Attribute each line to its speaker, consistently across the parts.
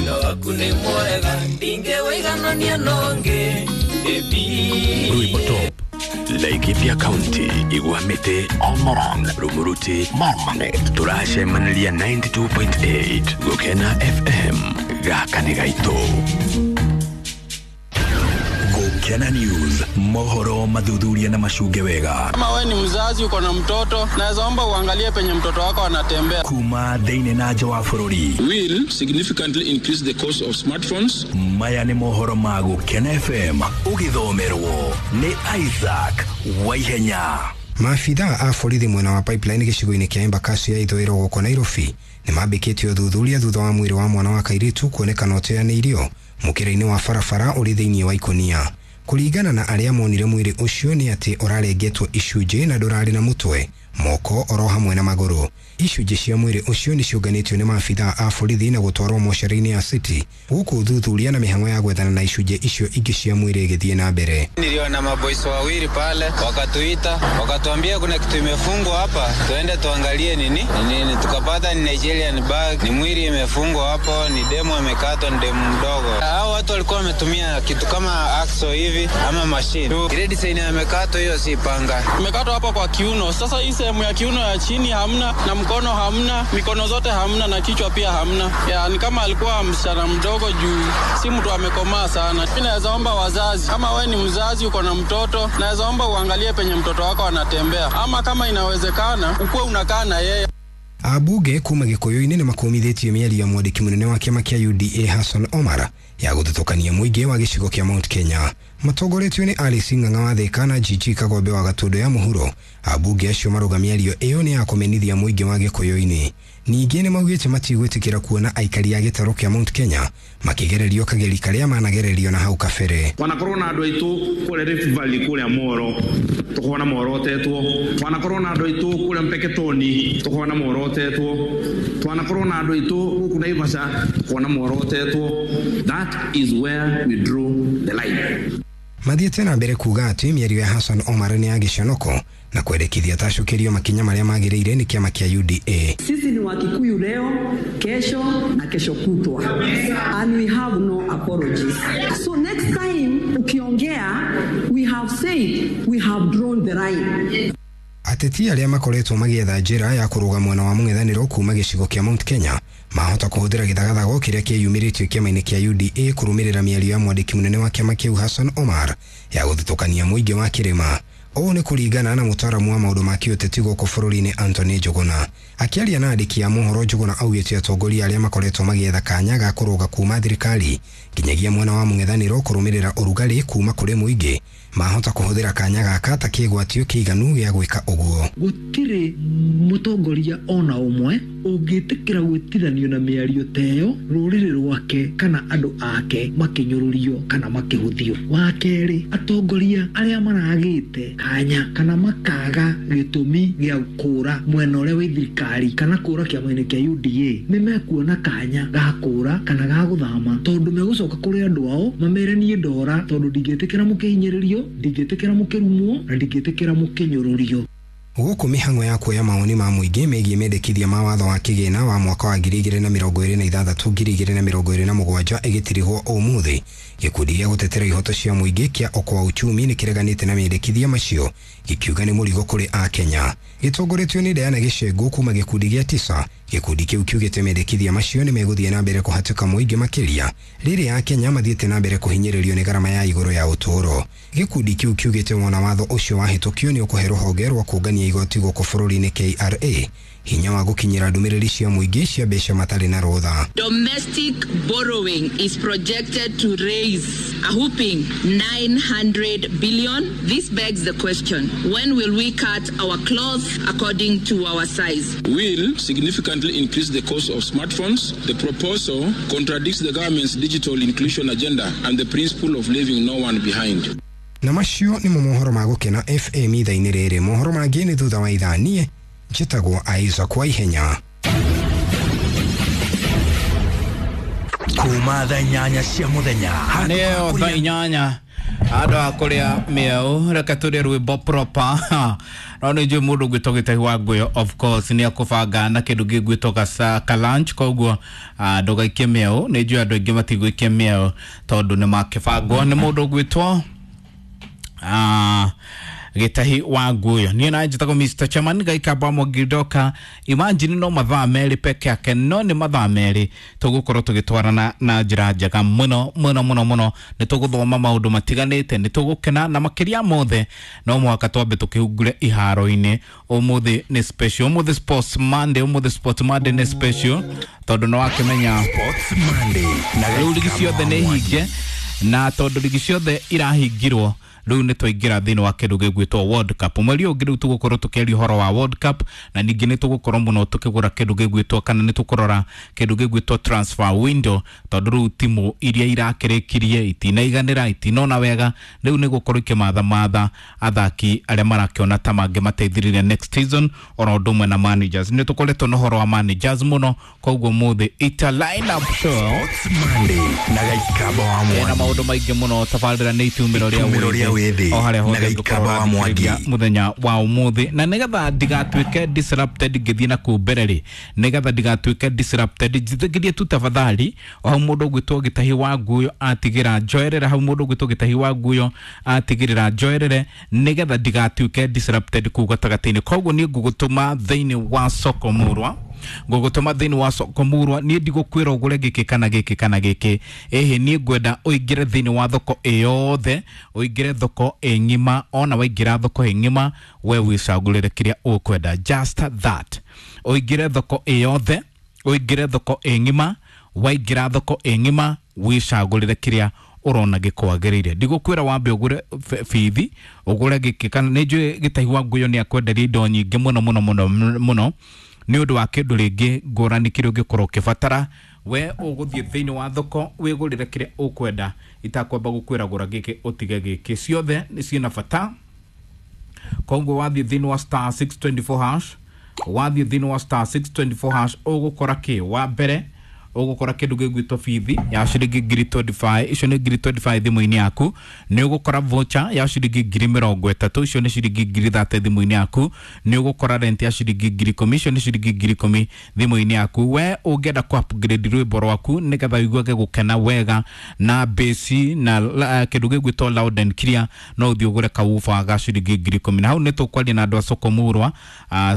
Speaker 1: Wendo waku nĩ mwega ndingĩwĩiganania nongi.
Speaker 2: Rwimbo Top, Laikipia County, Igwamite, Olmoron, Rumuruti, Marmanet. Turacemaniria 92.8 Gukena FM. Gaka nĩ gaitũ.
Speaker 3: Gukena News, mohoro mathuthuria na macunge wega.
Speaker 4: Kama we ni mzazi uko na mtoto, naweza omba uangalie penye mtoto wako anatembea.
Speaker 3: Kuma thĩinĩ na nja wa bũrũri.
Speaker 5: Will significantly increase the cost of smartphones.
Speaker 3: Maya nĩ mohoro ma Gukena FM ũgĩthomerwo nĩ Isaac Waihenya.
Speaker 6: Maabithaa a borithi mwena wa Pipeline gĩcigo-inĩ kĩa Embakasi ya ithũĩro gũkũ Nairobi nĩ mambĩkĩtie ũthuthuria thutha wa mwĩrĩ wa mwana wa kairĩtu kuonekana ũteanĩirio mũkĩra-inĩ wa barabara ũrĩ thĩinĩ wa ikũnia. Kũringana na arĩa monire mwĩrĩ ũcio nĩ atĩ ũrarengetwo icunjĩ na ndũrarĩ na mũtwe, moko oro hamwe na magũrũ. Icunjĩ cia mwĩrĩ ũcio nĩ ciũnganĩtio nĩ maabithaa a borithi na gũtwarwo mocarĩ-inĩ ya City, gũkũ ũthuthuria na mĩhang'o ya gwethana na icunjĩ icio ingĩ cia mwĩrĩ ĩgĩthiĩ na mbere.
Speaker 4: Niliona maboys wawili pale wakatuita, wakatuambia kuna kitu imefungwa hapa, tuende tuangalie nini nini. Tukapata ni Nigerian bag, ni mwili imefungwa hapo, ni demo amekatwa, ni demo mdogo. Hao watu walikuwa wametumia kitu kama axo hivi ama machine. Ile design amekatwa hiyo si panga. Imekatwa hapo kwa kiuno. Sasa hii sehemu ya kiuno ya chini hamna, na mkono hamna, mikono zote hamna, na kichwa pia hamna. Ya, ni kama alikuwa msichana mdogo juu si mtu amekomaa sana. Mimi naweza omba wazazi, kama we ni mzazi uko na mtoto, naweza omba uangalie penye mtoto wako anatembea, ama kama inawezekana ukuwe unakaa na yeye.
Speaker 6: Ambunge kuma Gĩkũyũ-inĩ nĩ makũmithĩtie mĩario ya mwandĩki mũnene wa kĩama kĩa UDA Hassan Omar ya gũthutũkania mũingĩ wa gĩcigo kĩa Mount Kenya. Matongoretio nĩ Alice Ng'ang'a wa Thĩka na Gigi Kagombe wa Gatũndũ ya Mũhuro. Ambunge acio marauga mĩario ĩyo nĩ ya kũmenithia mũingĩ wa Gĩkũyũ-inĩ. Ningĩ nĩ maugĩte matigwĩtĩkĩra kuona aikari a gĩtarũ kĩa Mount Kenya makĩgererio kageri karĩa managererio na hau kabere.
Speaker 7: Wanakorwo na andũ aitũ kũrĩa Rift Valley kũrĩa Moro tũkona morotetwo, wanakorwo na andũ aitũ kũrĩa Mpeketoni tũkona morotetwo, twanakorwo na andũ aitũ gũkũ Naivasha tũkona morotetwo. That is where we draw the line.
Speaker 6: Mathiĩte na mbere kuga atĩ mĩario ya Hassan Omar nĩ ya gĩconoko na kwendekithia tacũkĩrio makinya marĩa magĩrĩire nĩ kĩama kĩa UDA.
Speaker 8: Sisi ni Wakikuyu leo, kesho na kesho kutwa, and we have no apologies. So next time ukiongea, we have said we have drawn the line.
Speaker 6: Ateti arĩa makoretwo magĩetha njĩra ya kũrũga mwena wa mũng'ethanĩro kuma gĩcigo kĩa Mount Kenya mahota kũhũthĩra gĩthagathago kĩrĩa kĩyumĩrĩtio kĩama-inĩ kĩa UDA kũrũmĩrĩra mĩario ya mwandĩki mũnene wa kĩama kĩu Hassan Omar ya gũthutũkania mũingĩ wa kĩrĩma. Ũũ nĩ kũringana na mũtaaramu wa maũndũ ma kĩũteti gũkũ bũrũri-inĩ Anthony Njuguna. Akĩaria na andĩki a mohoro, Njuguna augĩte atongoria arĩa makoretwo magĩetha kanya ga kũrũga kuma thirikari nginyagia mwena wa mũng'ethanĩro kũrũmĩrĩra ũrugarĩ kuma kũrĩ mũingĩ mahota kũhũthĩra kanya gaka ta kĩgwatio kĩiganu gĩa gwĩka ũguo.
Speaker 9: Gũtirĩ mũtongoria ona ũmwe ũngĩtĩkĩra gwĩtithanio na mĩario ta ĩyo rũrĩrĩ rwake kana andũ ake makĩnyũrũrio kana makĩhũthio. Wa kerĩ, atongoria arĩa maragĩte kanya kana makaga gĩtũmi gĩa kũra mwena ũrĩa wĩ thirikari kana kũra kĩama-inĩ kĩa UDA nĩ mekuona kanya ga kũra kana ga gũthama, tondũ megũcoka kũrĩ andũ ao mamere niĩ ndora, tondũ ndingĩtĩkĩra mũkĩhinyĩrĩrio, ndingĩtĩkĩra mũkĩrumwo na ndingĩtĩkĩra mũkĩnyũrũrio.
Speaker 6: Gũkũ mĩhang'o ya kuoya mawoni ma mũingĩ megiĩ mendekithia ma watho wa kĩgĩna wa mwaka wa 2026 2027 ĩgĩtirihwo ũmũthĩ, gĩkundi gĩa gũtetera ihoto cia mũingĩ kĩa Okoa Uchumi nĩ kĩreganĩte na mendekithia macio gĩkiuga nĩ mũrigo kũrĩ Akenya. Gĩtongoretio nĩ Diana Gĩcengũ kuma gĩkundi gĩa Tisa, gĩkundi kĩu kiugĩte mendekithia macio nĩ megũthiĩ na mbere kũhatĩka mũingĩ makĩria rĩrĩa Akenya mathiĩte na mbere kũhinyĩrĩrio nĩ garama ya igũrũ ya ũtũũro. Gĩkundi kĩu kiugĩte wona watho ũcio wahĩtũkio nĩ ũkũhe rũhonge rwa kũngania igoti gũkũ bũrũri-inĩ KRA hinya wa gũkinyĩra ndũmĩrĩri cia mũingĩ cia mbeca matarĩ na rũtha.
Speaker 10: Domestic borrowing is projected to raise a whopping 900 billion. This begs the question, when will we cut our cloth according to our size?
Speaker 5: Will significantly increase the cost of smartphones. The proposal contradicts the government's digital inclusion agenda and the principle of leaving no one behind.
Speaker 6: Na macio nĩmo mohoro ma Gũkena FM ithaa-inĩ rĩrĩ. Mohoro mangĩ nĩ thutha wa ithaa. Niĩ njĩtagwo Isaac Waihenya.
Speaker 3: Kuma thaa 8 cia mũthenya
Speaker 11: nĩyo thaa 8 Andũ a kũrĩa mĩeũ, reke tũrĩe rwĩmbo proper. No nĩ njũĩ mũndũ ũgwĩtwo Gĩtahi wa Ngũyũ, of course nĩ akũbanga na kĩndũ gĩgwĩtwo ka lunch, koguo ndũgaikie mĩeũ. Nĩ njũĩ andũ aingĩ matigũikia mĩeũ tondũ nĩ makĩbangwo nĩ mũndũ ũgwĩtwo Gĩtahi wa Ngũyũ. Niĩ na njĩtagwo Mr. Chairman Gaikamba Mwangi. Imagine no mathaa merĩ peke yake, no nĩ mathaa merĩ tũgũkorwo tũgĩtwarana na njĩra njega mũno mũno mũno mũno. Nĩ tũgũthoma maũndũ matiganĩte, nĩ tũgũkena, na makĩria mothe no mũhaka twambe tũkĩhungure iharo-inĩ. Ũmũthĩ nĩ special, ũmũthĩ Sports Monday, ũmũthĩ Sports Monday nĩ special tondũ nĩ wakĩmenya
Speaker 3: Sports Monday na
Speaker 11: rĩu ligi ciothe nĩ hinge, na tondũ ligi ciothe irahingirwo rĩu nĩ twaingĩra thĩinĩ wa kĩndũ gĩgwĩtwo World Cup. Mweri ũyũ ũngĩ rĩu tũgũkorwo tũkĩaria ũhoro wa World Cup, na ningĩ nĩ tũgũkorwo mũno tũkĩgũra kĩndũ gĩgwĩtwo, kana nĩ tũkũrora kĩndũ gĩgwĩtwo transfer window, tondũ rĩu timu iria irakĩrĩkirie itinaiganĩra, itinona wega, rĩu nĩ gũkorwo ikĩmathamatha athaki arĩa marakĩona ta mangĩmateithĩrĩria next season, oro ũndũ ũmwe na managers. Nĩ tũkoretwo na ũhoro wa managers mũno, koguo mũthĩ ita line up show
Speaker 3: Sports Monday na Gaikamba wa
Speaker 11: na
Speaker 3: Mwangi.
Speaker 11: Maũndũ maingĩ mũno. Tabarĩra nĩ itumĩro rĩa
Speaker 3: Itumĩro rĩa wĩthĩ
Speaker 11: o harĩa
Speaker 3: na
Speaker 11: hothe
Speaker 3: Gaikamba wa Mwangi.
Speaker 11: ũngĩkorwo mũthenya wa ũmũthĩ. Na nĩgetha ndigatuĩke disrupted ngĩthiĩ na kũu mbere rĩ, nĩgetha ndigatuĩke disrupted, njĩtĩkĩrie tu tafadhali, o hau mũndũ ũgwĩtwo Gĩtahi wa Ngũyũ atigĩra njoerere, hau mũndũ ũgwĩtwo Gĩtahi wa Ngũyũ atigĩrĩra njoerere, nĩgetha ndigatuĩke disrupted kũu gatagatĩ-inĩ. Koguo niĩ ngũgũtũma thĩinĩ wa soko murwa, ngũgũtũma thĩinĩ wa soko murwa. Niĩ ndigũkwĩra ũgũre gĩkĩ kana gĩkĩ kana gĩkĩ, ĩhĩ, niĩ ngwenda ũingĩre thĩinĩ wa thoko ĩyothe, ũingĩre thoko ĩ ng'ima. Ona waingĩra thoko ĩ ng'ima, we wĩcagũrĩre kĩrĩa ũkwenda, just that. Ũingĩre thoko ĩyothe, ũingĩre thoko ĩ ng'ima, waingĩra thoko ĩ ng'ima wĩcagũrĩre kĩrĩa ũrona gĩkwagĩrĩire. Ndigũkwĩra wambe ũgũre bithi, ũgũre gĩkĩ kana nĩ njũĩ Gĩtahi wa Ngũyũ nĩ akwenderia indo nyingĩ mũno mũno mũno mũno nĩ ũndũ wa kĩndũ rĩngĩ ngũrani kĩrĩa ũngĩkorwo ũkĩbatara. We ũgũthiĩ thĩinĩ wa thoko wĩgũrĩre kĩrĩa ũkwenda, itakwamba gũkwĩra gũra gĩkĩ ũtige gĩkĩ, ciothe nĩ ciĩna bata. Koguo wathiĩ thĩinĩ wa star 624 hash, wathiĩ thĩinĩ wa star 624 hash, ũgũkora kĩ? Wa mbere ũgũkora kĩndũ gĩgwĩtwo bithi ya ciringi 25,000, icio nĩ 25,000 thimũ-inĩ yaku. Nĩ ũgũkora voucher ya ciringi 30,000, icio nĩ ciringi 30,000 thimũ-inĩ yaku. Nĩ ũgũkora rent ya ciringi 10,000, icio nĩ ciringi 10,000 thimũ-inĩ yaku. We ũngĩenda kũ upgrade rwĩmbo rwaku nĩgetha ũiguage gũkena wega na bass na kĩndũ gĩgwĩtwo loud and clear, no ũthiĩ ũgũre kaufa ga ciringi 10,000. Na hau nĩ tũkwaria na andũ a soko murwa.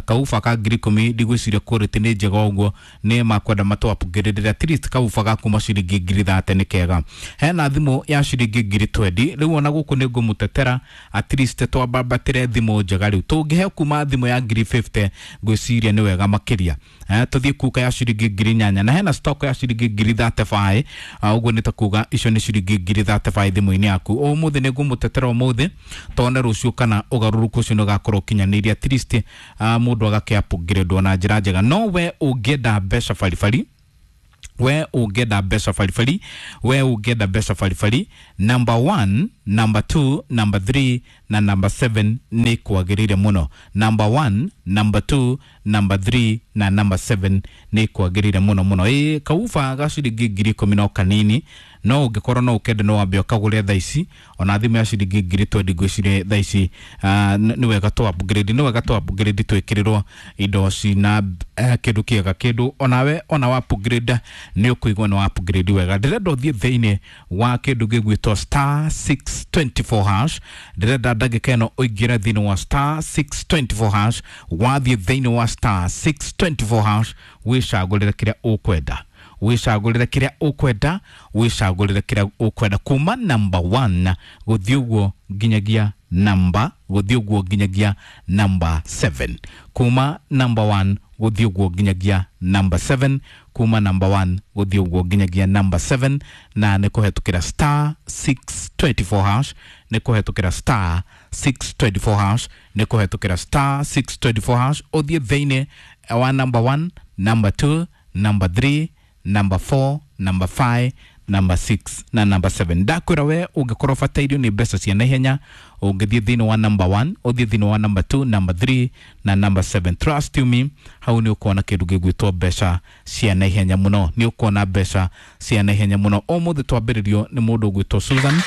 Speaker 11: Kaufa ka 10,000 ndigwĩciria quality nĩ njega ũguo, nĩ makwenda matũ upgrade at least kaufa ga kuma ciringi 30,000 nĩ kega. Hena thimũ ya ciringi 20,000. Rĩu ona gũkũ nĩ ngũmũtetera, at least twambambatĩre thimũ njega. Rĩu tũngĩhe kuma thimũ ya 50,000, ngwĩciria nĩ wega makĩria. Tũthiĩ kuka ya ciringi 8,000, na hena stock ya ciringi 35,000. Ũguo nĩ ta kuga icio nĩ ciringi 35,000 thimũ-inĩ yaku. Ũmũthĩ nĩ ngũmũtetera ũmũthĩ, tone rũciũ kana ũgarũrũku ũcio nĩ ũgakorwo ũkinyanĩirie, at least mũndũ agakĩ upgrade na njĩra njega. No we ũngĩenda mbeca baribari, we ũngĩenda mbeca baribari, we ũngĩenda mbeca baribari, number 1, number 2, number 3 na number 7 nĩ kwagĩrĩire mũno. Number 1, number 2, number 3 na number 7 nĩ kwagĩrĩire mũno mũno. Ĩ kauba ga ciringi 10,000 no kanini, no ũngĩkorwo no ũkende no wambe ũkagũre thaa ici. Ona thimũ ya ciringi 20,000 ngwĩciria thaa ici nĩ wega tũ upgrade, nĩ wega tũ upgrade twĩkĩrĩrwo indo cina kĩndũ kĩega, kĩndũ onawe ona wa upgrade nĩ ũkũigua nĩ wa upgrade wega. Ndĩrenda ũthiĩ thĩinĩ wa kĩndũ gĩgwĩtwo star 624 hash. Ndĩrenda ndagĩka ĩno ũingĩre thĩinĩ wa star 624 hash. Wathiĩ thĩinĩ wa star 624 hash, wĩcagũrĩre kĩrĩa ũkwenda, wĩcagũrĩre kĩrĩa ũkwenda, wĩcagũrĩre kĩrĩa ũkwenda, kuma number 1 gũthiĩ ũguo nginyagia namba, gũthiĩ ũguo nginyagia number 7, kuma number 1 gũthiĩ ũguo nginyagia number 7, kuma number 1 gũthiĩ ũguo nginyagia number 7. Na nĩ kũhetũkĩra star 624 hash, nĩ kũhetũkĩra star 624 hash, nĩ kũhetũkĩra star 624 hash, ũthiĩ thĩinĩ wa number 1, number 2, number 3, number 4, number 5, number 6 na number 7. Ndakwĩra we ũngĩkorwo ũbatairio nĩ mbeca cia naihenya, ũngĩthiĩ thĩinĩ wa number 1, ũthiĩ thĩinĩ wa number 2, number 3 na number 7, trust you me, hau nĩ ũkuona kĩndũ gĩgwĩtwo mbeca cia naihenya mũno, nĩ ũkuona mbeca cia naihenya mũno. Ũmũthĩ twambĩrĩrio nĩ mũndũ ũgwĩtwo Susan.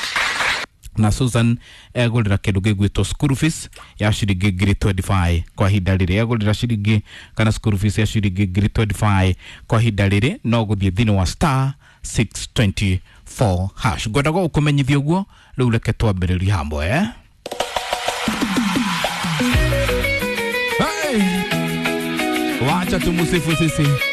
Speaker 11: Na Susan egũrĩra kĩndũ gĩgwĩtwo school fees ya ciringi 25,000 kwa ihinda rĩrĩ. Egũrĩra ciringi kana school fees ya ciringi 25,000 kwa ihinda rĩrĩ, no gũthiĩ thĩinĩ wa *624#. Ngwendaga gũkũmenyithia ũguo. Rĩu reke twambĩrĩrie hamwe, eh? Hey! Wacha tumusifu sisi.